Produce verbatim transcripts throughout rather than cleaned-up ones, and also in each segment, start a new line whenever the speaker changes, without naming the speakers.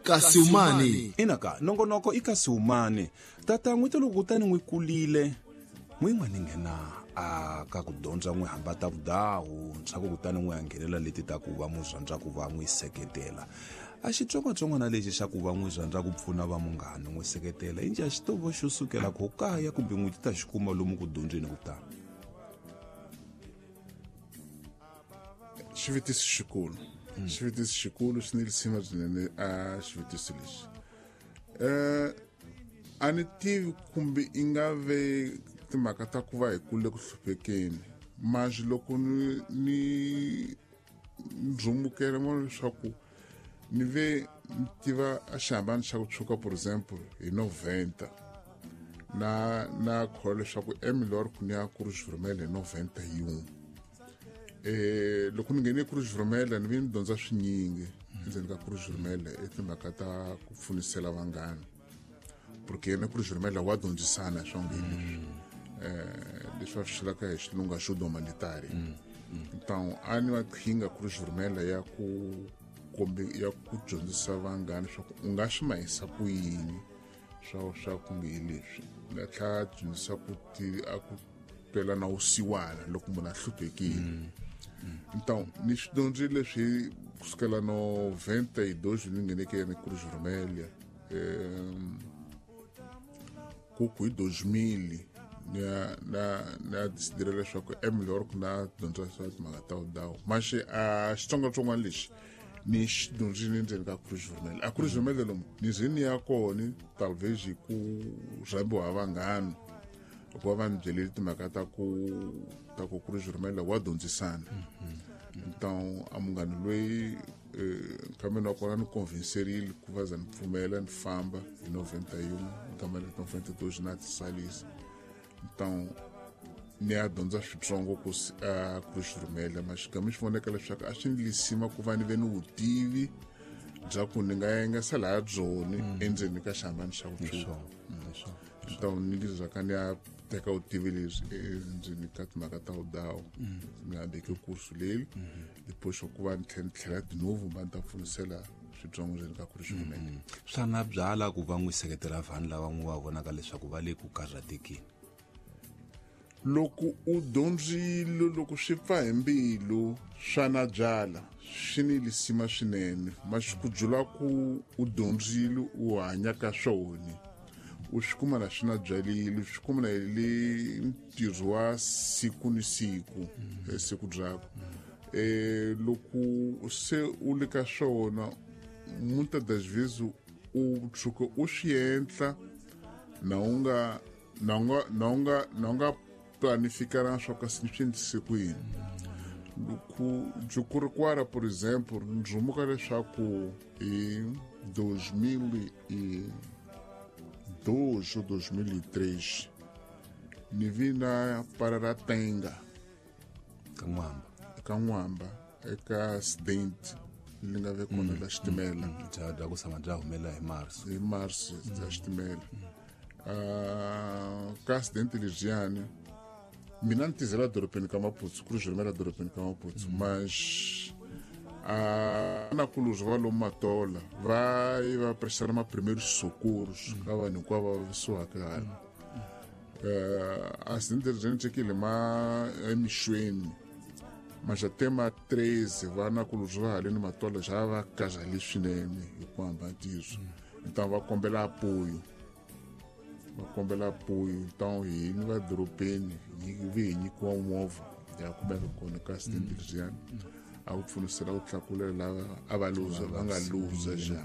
Kasi umani
Inaka nongonoko i kasi umani tata n'wi loko kutani n'wi kulile n'wi n'wana nghena a ka ku dyondza n'wi hamba ta vudawu ntshaku kutani n'wi nghenela leti ta ku va muzandza ku va n'wi seketela a xitsongwatsongwana lexi xa ku va n'wi rhandza ku pfuna va munghana n'wi seketela inji a xi to va xo sukela ko kaya kumbe n'wi ti ta xi kuma lomu ku dyondzeni ku tala.
Xivutiso xikulu xivutiso xikulu xi ni lisima swinene a xivutiso lexi eh a ni tivi kumbe i nga ve timhaka ta ku va hi kule ku hluphekeni mas loko ni ni ndzumukela mo leswaku ni ve ni tiva a xihambano xa ku tshuka por exemple hi noventa na na kholwa leswaku emilor ku ni ya Cruz Vermelha hi noventa yin'we eh loko ni nghene Cruz Vermelha ni ve ni dyondza swinyingi endzeni ka Cruz Vermelha i timhaka ta ku pfunisela vanghana porque yena Cruz Vermelha wa dyondzisana swa nge leswi eh leswi va swi vulaka hi xilungu ajuda humanitária. Então a ni maqhinga Cruz Vermelha ya ku kumbe ya ku dyondzisa vanghana leswaku u nga swi mahisa ku yini swa swa kumbe hi leswi nga tlhela dyondzisa ku ti a ku twela na wusiwana loko munhu a hluphekile. Então ni swi dyondzile leswi kusukela noventa e dois ni ngheneke ni Cruz Vermelha ku ku hi dois mil na na na decidile leswaku é melhor ku na dyondza swa timhaka ta vudawu mas a xitsongwatsongwana lexi ni xi dyondzile endzeni ka Cruz Vermelha. A Cruz Vermelha lomu ni ze ni ya kona talvez hi ku rhambiwa ha vanghana hikuva va ni byelile timhaka ta ku ta ku Cruz Vermelha wa dyondzisana. Então a munghana loyi nkambeni wa kona ni convencerile ku va za ni pfumela ni famba hi noventa yin'we nkambeni noventa dois na tisalisa. Então ni ya dyondza switsongo ku a Cruz Vermelha mas xigama xi voneka leswaku a swi ni lisima ku va ni ve ni vutivi bya ku ni nga yengesa laha byoni endzeni ka xihambano xa ku tshuka. Então ni lizaka ni ya teka vutivi lebyi endzeni ka timhaka ta vudawu ni hambeke kursu leyi depois ku va ni tlhela ni tlhela de novo va ni ta pfunisela switsongo ndzeni ka Cruz Vermelha.
Swa na byala ku va n'wi seketela vanhu lava n'wi va vonaka leswaku va le ku karhatekeni.
Loko u dyondzile loko swi pfa hi mbilu swa na byala swi ni lisima swinene mas ku dzula ku u dyondzile u hanya ka swona u swi kuma na swi na byalile swi kuma na le ntirho wa siku ni siku siku byakwe eh loko se u le ka swona muitas das vezes u tshuka u swi endla na u nga na u nga na u nga na u nga planificar swa ku swi endlise ku yini. Loko Jukurikwara por exemplo ndzumuka leswaku hi dois mil e dois ou dois mil e três ni vi na Pararatenga
ka N'wamba
ka N'wamba eka accident li nga ve kona la xitimela
bya bya ku tshama bya humelela hi Mars
hi Mars bya xitimela. Uh, ka accident lexiyani mina ni tizela dorobeni ka Maputo Cruz Vermelha dorobeni ka Maputo mas a na kuluzi va lomu Matola va yi va prestar ma primeiros socorros ka vanhu hinkwavo va vavisiwaka hala. Uh, accident leri endlekile ma emixweni mas até ma treze va na kuluzi va haleni Matola xa va kazali swinene hi ku hamba ntiyiso. Então va kombela apoio va kombela apoio então hini va dorobeni hi vi hi nyikiwa movha ya kumeka kona ka accident lexiyani a ku pfunisela ku tlakulela lava a va luza va nga luza xa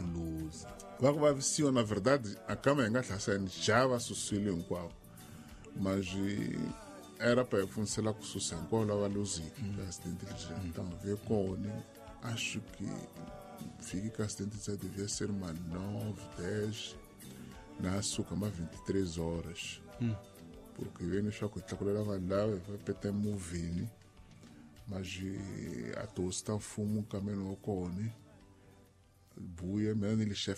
va ku vavisiwa na verdade a kama hi nga hlasani ja va susile hinkwavo mas era pa hi pfunisela ku susa hinkwavo lava luziki ka accident lexiyani. Então ve kona acho que fiki ka accident já devia ser uma nove dez na suka ma vinte e três horas porque vem leswaku hi tlakulela vanhu lava hi va peta emovheni mas a tihosi ta mfumo nkameni wa kona buya mina ni le